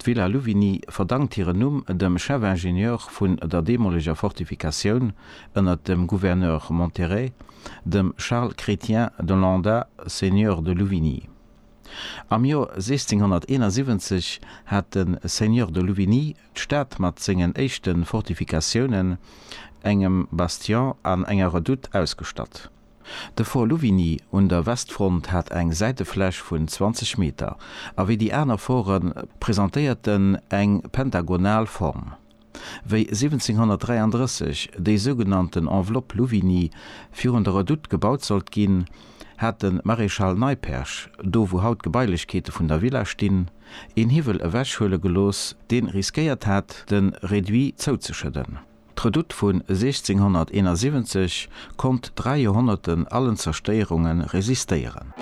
D'Villa Louvigny verdankt hiren Numm dem Chef-Ingenieur vun der deemoleger Fortifikatioun ënner dem Gouverneur Monterey, dem Charles Chrétien de Landa, Seigneur de Louvigny. Am Joer 1671 hat de Seigneur de Louvigny d'Stad mat sengen éischte Fortifikatiounen, engem Bastion an enger Redoute ausgestatt. De Fort Louvigny un der Westfront hat eng Säitefläch vun 20 Meter a wéi déi aner Forte presentéiert en eng pentagonal Form. Wéi 1733 déi sougenannten Enveloppe Louvigny virun der Redoute gebaut sollt ginn, hat de Maréchal Neipperg, do wou haut d'Gebailechkeete vun der Villa stinn, een Hiwwel ewechhuele gelooss, dee riskéiert hat, de Reduit zouzeschëdden. D'Redoute vun 1671 konnt 3 Joerhonnerten allen Zerstéierunge resistéieren.